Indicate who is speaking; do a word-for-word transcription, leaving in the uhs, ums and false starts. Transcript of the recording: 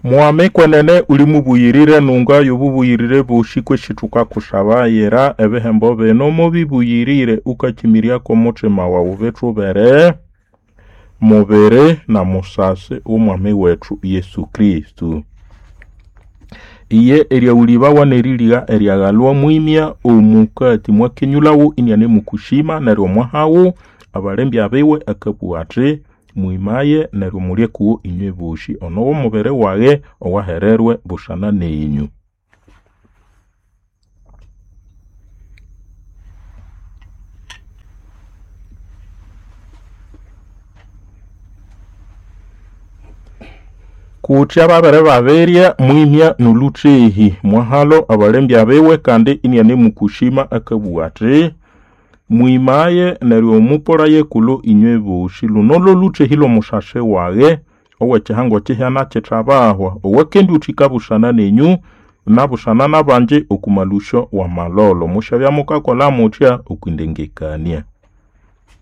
Speaker 1: Mwami kwenene uli mubuyirire nunga y'obubuyirire bosi kwesi thukakushabayira ebihembo bino mubibuyirire ukakimiryako omuthima wawu bithubere mubiri na musasi w'omwami wethu Yesu Kristo. Iye eryawulibawa n'eriligha eryaghalwa mwimya omukati mwakenyulhawo inianemukushima neryo mwahawo abalembya biwe akabugha athi mwimaye neryo mulye kuwo inywe bosi ono w'omubiri waghe owahererwe busana nenyu. Kutya babere babirya mwimya n'olhuthehi mwahalo abalembya biwe kandi inianemukushima akabugha athi mwimaye neryo mupolaye kulo inywe bosi luno lw'olhuthehi lw'omusasi waghe ow'ekihango kihyana kithabahwa owakendiwuthika busana nenyu nabusana n'abangi oku malusyo w'amalolo. Musyabya mukakolha mutya okwindengekania.